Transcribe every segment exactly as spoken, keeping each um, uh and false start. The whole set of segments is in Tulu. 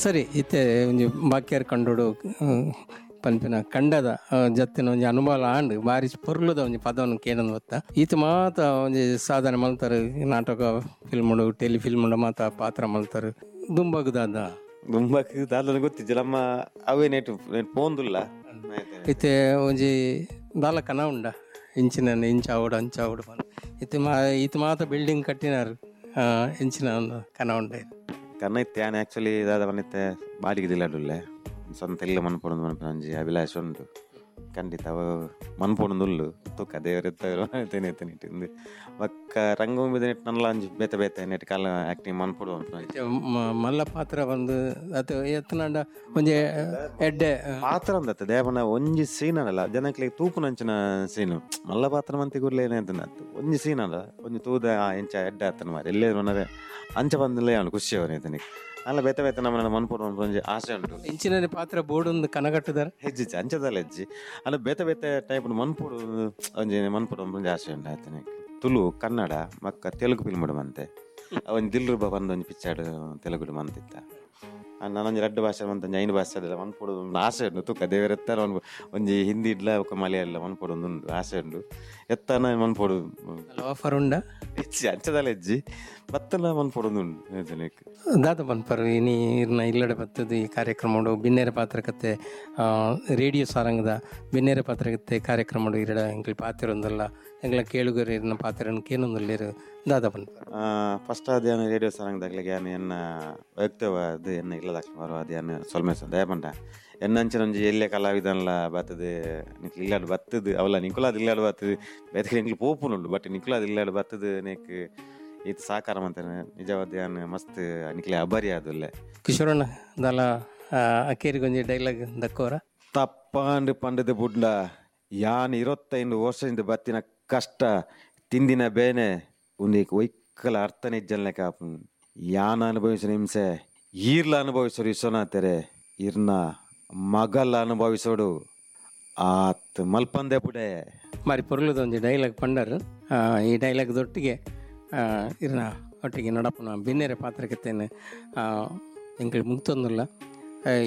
ಸರಿ, ಇತ್ತೆ ಒಂಜಿ ಬಾಕಿಯರ್ ಕಂಡೋಡು ಪನ್ಪಿನ ಕಂಡದ ಜತ್ತಿನ ಒಂಜಿ ಅನುಭವ ಆಂಡ್ ಬಾರಿ ಪೊರ್ಲುದ ಒಂಜಿ ಪದವನ್ನು ಕೇಳೊಂದು ಗೊತ್ತ. ಈತ ಮಾತ ಒಂಜಿ ಸಾಧನೆ ಮಲ್ತಾರೆ, ನಾಟಕ ಫಿಲ್ಮ್ ಟೆಲಿ ಫಿಲ್ಮ್ ಮಾತ ಪಾತ್ರ ಮಲ್ತಾರೆ. ದುಂಬಗ್ ದಾದ ದುಂಬಗ್ ದಾದ ಗೊತ್ತಿಜ್ಜಿ ನಮ್ಮ ಅವೇ ನೆಟ್ ಪೋಂದುಲ್ಲ. ಇತ್ತೆ ಒಂಜಿ ದಾಲ ಕನ ಉಂಡ ಇಂಚಿನ ಇಂಚ ಆವಡು ಅಂಚ ಆವಡು ಬಂದು ಇತ್ತೆ ಮಾ ಈತ ಮಾತ ಬಿಲ್ಡಿಂಗ್ ಕಟ್ಟಿನಾರು ಇಂಚಿನ ಒಂದು ಕನ ಉಂಡ. ಕನ ಇತ್ತೆ ಯಾನ್ ಆ್ಯಕ್ಚುಲಿ ದಾದ ಬಂದಿತ್ತೆ ಬಾಡಿಗೆ ದಿಲ್ಲಾಡುಲ್ಲೆ ಸ್ವಂತ ಎಲ್ಲ ಮನ್ಪೊಡೊಂದು ಮನ್ಪುನ ಒಂಜಿ ಅಭಿಲಾಷ ಉಂಟು. ಖಂಡಿತ ಅವು ಮನ್ಪೊಡೊಂದುಲ್ಲು ತುಕ್ಕ ದೇವರೆತ್ತೇನೆ ಇತ್ತಿಂದು ಬೊಕ್ಕ ರಂಗಭೂಮಿ ನೆಟ್ ನಲ್ಲ ಒಂಜಿ ಬೇತೆ ಬೇತೆ ನೆಟ್ ಕಾಲ ಆ್ಯಕ್ಟಿಂಗ್ ಮನ್ಪೊಡು ಮಲ್ಲ ಪಾತ್ರ ಬಂದು ಅದು ಎತ್ತನಾಂಡ ಒಂಜಿ ಎಡ್ಡೆ ಪಾತ್ರ ಅಂದತ್ತೆ ದೇವನ ಒಂಜಿ ಸೀನ್ ಅಲ್ಲ ಜನಕ್ಲೆಗ್ ತೂಪುನಂಚಿನ ಸೀನು ಮಲ್ಲ ಪಾತ್ರ ಮಂತಿ ಕೂಡ್ಲೆ ಏನಾಯ್ತು ಒಂಜಿ ಸೀನ್ ಅಲ್ಲ ಒಂಜಿ ತೂದ ಎಂಚ ಎಡ್ಡೆ ಆತನ ಮಾರಿ ಎಲ್ಲೇ ಮನರೆ ಅಂಚ ಬಂದಲೇ ಅವನು ಖುಷಿ ಅವನು ಅಲ್ಲ ಬೇತೆ ಬೇತೆ ನಮ್ಮ ಮನ್ಪೊಡು ಒಂಜಿ ಆಸೆ ಉಂಟು. ಇಂಚಿನ ಪಾತ್ರ ಬೋರ್ಡ್ ಕನಗಟ್ಟುದಾರೆ ಹೆಜ್ಜಿ ಅಂಚದಲ್ಲ ಹೆಜ್ಜಿ ಅಲ್ಲ ಬೇತೆ ಬೇತೆ ಟೈಪ್ ಮನ್ಪೊಡು ಒಂಜಿ ಮನ್ಪೊಡು ಒಂಜಿ ಆಸೆ ಉಂಟು ಆಯ್ತಾನೆ. ತುಳು ಕನ್ನಡ ಮಕ್ಕ ತೆಲುಗು ಫಿಲ್ಮ್ ಮಂತೆ ಒಂಜಿ ದಿಲ್ ರೂಪ ಬಂದು ಒಂಜಿ ಪಿಕ್ಚರ್ ತೆಲುಗು ಮಂತಿತ್ತ ನಾನೊಂಜಿ ರಡ್ಡು ಭಾಷೆ ಮಂತ ಒಂಜಿ ಐನು ಭಾಷೆ ಅದೆಲ್ಲ ಮನ್ಪೊಡು ಆಸೆ ಉಂಟು. ತುಕ್ಕ ದೇವರೆತ್ತಾರ ಒಂದು ಒಂಜಿ ಹಿಂದಿ ಇಡ್ಲ ಬೊಕ್ಕ ಮಲಯಾಳ ಮನ್ಪೊಡು ಒಂದು ಉಂಟು ಆಸೆ ಉಂಟು. ಎತ್ತನ ಮನ್ಪೊಡು ಆಫರ್ ಉಂಡ ಹೆಜ್ಜಿ ಅಂಚದಲ್ಲ ಹೆಜ್ಜಿ ಬತ್ತಲ ಮನ್ಪೊಡೊಂದು ಉಂಟು. ದಾದ ಪನ್ಪರು ಇನಿ ಇರ್ನ ಇಲ್ಲಡೆ ಬತ್ತದು ಈ ಕಾರ್ಯಕ್ರಮ ಬಿನ್ನೇರ ಪಾತ್ರಕತೆ ರೇಡಿಯೋ ಸಾರಂಗದ ಬಿನ್ನೇರ ಪಾತ್ರಕತೆ ಕಾರ್ಯಕ್ರಮ ಇರಡ ಎಂಕ್ಲ ಪಾತಿರೊಂದಲ್ಲ ಎಂಗ್ಲ ಕೇಳುಗರು ಇರ್ನ ಪಾತ್ರ ಕೇನೊಂದುಲ್ಲೇರು ದಾದ ಪನ್ಪರು. ಫಸ್ಟ್ ಅದೇನು ರೇಡಿಯೋ ಸಾರಂಗದಾಗ್ಲಿಗೆ ಯಾನ್ ಎನ್ನ ವೈಯಕ್ತಿಕವಾದ ಎನ್ನ ಇಲ್ಲದಾಕ್ಲ ಬರುವ ಅದೇನು ಸೊಲ್ಮೆ ದಯಪಂಡ ಎನ್ನಂಚಿನ ಒಂಜಿ ಎಲ್ಲೆ ಕಲಾವಿದನ್ಲ ಬತ್ತದು ನಿಕ್ಲು ಇಲ್ಲಾಡು ಬತ್ತದು ಅವಲ್ಲ ನಿಂಕುಲಾದ ಇಲ್ಲಾಡು ಬತ್ತದು ಬೇತೆ ಎಂಕ್ಲು ಪೋಪುನುಂಡು ಬಟ್ ನಿಕ್ಲಾದ ಇಲ್ಲಾಡು ಬತ್ತದು ನೆಕ್ ಈತ ಸಾಕಾರ ಮಂತೇನೆ ನಿಜವಾದ ಯಾನ್ ಮಸ್ತ್ ನಿಕ್ಲೆ ಅಬರಿ ಆದುಲ್ಲೆ. ಕಿಶೋರಣ್ಣ ದಾಲ ಅಕೇರಿಗೊಂಜಿ ಡೈಲಾಗ್ ದಕ್ಕೋರ ತಪ್ಪಾಂಡು ಪಂಡದ ಬುಡ್ಲ ಯಾನ್ ಇರತ್ತೈದು ವರ್ಷದಿಂದ ಬತ್ತಿನ ಕಷ್ಟ ತಿಂದಿನ ಬೇನೆ ಉಂದಿಕ್ ಒಯ್ಕಲ ಅರ್ಥನೇ ಇಜ್ಜಲ್ನೆ ಕಾಪು ಯಾನ್ ಅನುಭವಿಸಿನ ಹಿಂಸೆ ಈರ್ಲ ಅನುಭವಿಸೋರು ವಿಶ್ವನಾಥರೆ ಇರ್ನ ಮಗಲ್ಲ ಅನುಭವಿಸೋಡು ಆತ್ ಮಲ್ಪಂದೆ ಪುಡೆ ಮಾರಿ ಪೊರ್ಲುದ ಒಂಜಿ ಡೈಲಾಗ್ ಪಂಡರು. ಈ ಡೈಲಾಗ್ ದೊಟ್ಟಿಗೆ ಇರ್ನ ಒಟ್ಟಿಗೆ ನಡಪುನ ಬಿನ್ನೆರೆ ಪಾತ್ರಕತೆನ್ ಎಂಕಲ್ ಮುಕ್ತೊಂದುಲ್ಲ.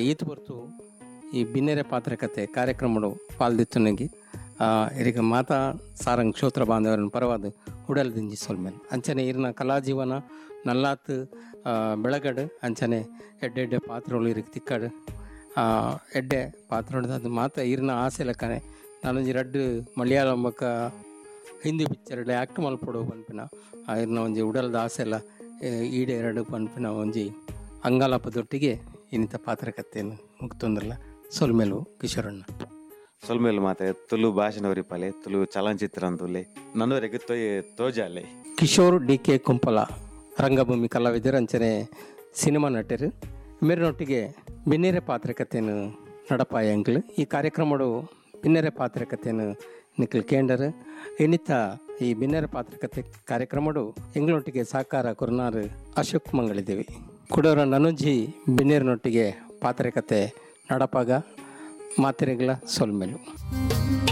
ಈತ್ ಪೊರ್ತು ಈ ಬಿನ್ನೆರೆ ಪಾತ್ರಕತೆ ಕಾರ್ಯಕ್ರಮಡು ಪಾಲ್ದಿತ್ತುನಗಿ ಇರಿಗ ಮಾತಾ ಸಾರಂಗ್ ಕ್ಷೋತ್ರ ಬಾಂಧವರನ್ನು ಪರವಾದ ಉಡಲ್ದಿಂಜಿ ಸೊಲ್ಮೆನ್ ಅಂಚನೆ ಇರ್ನ ಕಲಾಜೀವನ ನಲ್ಲಾತ್ ಬೆಳಗಡು ಅಂಚನೆ ಎಡ್ಡೆ ಎಡ್ಡೆ ಪಾತ್ರಗಳು ಇರಿಗೆ ತಿಕ್ಕಡು ಎಡ್ಡೆ ಪಾತ್ರ ಅದು ಮಾತ್ರ ಇರ್ನ ಆಸೆ ಲೆಕ್ಕನೆ. ನಾನೊಂಜಿ ರಡ್ಡು ಮಲಯಾಳಂ ಬೊಕ್ಕ ಹಿಂದಿ ಪಿಕ್ಚರ್ ಆ್ಯಕ್ಟ್ ಮಲ್ಪೊಡು ಪನ್ಪಿನ ಇರ್ನ ಒಂಜಿ ಉಡಲ್ದ ಆಸೆ ಎಲ್ಲ ಈಡೇರಡು ಪನ್ಪಿನ ಒಂಜಿ ಅಂಗಾಲಪದೊಟ್ಟಿಗೆ ಇನ್ನಿತ ಪಾತ್ರಕತೆಯನ್ನು ಮುಕ್ತೊಂದ್ರಲ್ಲ. ಸೊಲ್ಮೆಲು ಕಿಶೋರಣ್ಣ. ಸೊಲ್ಮೇಲು ಮಾತೆ ತುಳು ಭಾಷೆನವರಿಪಾಲೆ ತುಳು ಚಲನಚಿತ್ರ ಅಂತುಲೆ ನನ್ನವರೆಗೆ ತೋಯ್ ತೋಜಾಲೆ. ಕಿಶೋರ್ ಡಿ ಕೆ ಕುಂಪಲ ರಂಗಭೂಮಿ ಕಲಾವಿದರು ಅಂಚನೆ ಸಿನಿಮಾ ನಟರು ಮೇರಿನೊಟ್ಟಿಗೆ ಬಿನ್ನೆರೆ ಪಾತ್ರಕತೆಯನ್ನು ನಡಪಾಯ ಅಂಕ್ಲು. ಈ ಕಾರ್ಯಕ್ರಮಡು ಬಿನ್ನೆರೆ ಪಾತ್ರಕತೆಯನ್ನು ನಿಖಿಲ್ ಕೇಂಡರ್ ಇನ್ನಿತ ಈ ಬಿನ್ನೆರೆ ಪಾತ್ರಕತೆ ಕಾರ್ಯಕ್ರಮಡು ಎಂಗ್ಲೊಟ್ಟಿಗೆ ಸಾಕಾರ ಕುರ್ನಾರು ಅಶೋಕ್ ಮಂಗಳಿದ್ದೇವೆ ಕುಡೋರ ನನುಜಿ ಬಿನ್ನೇರಿನೊಟ್ಟಿಗೆ ಪಾತ್ರಕತೆ ನಡಪಾಗ ಮಾತಿರೆಗಳ ಸೊಲ್ಮೆಲು.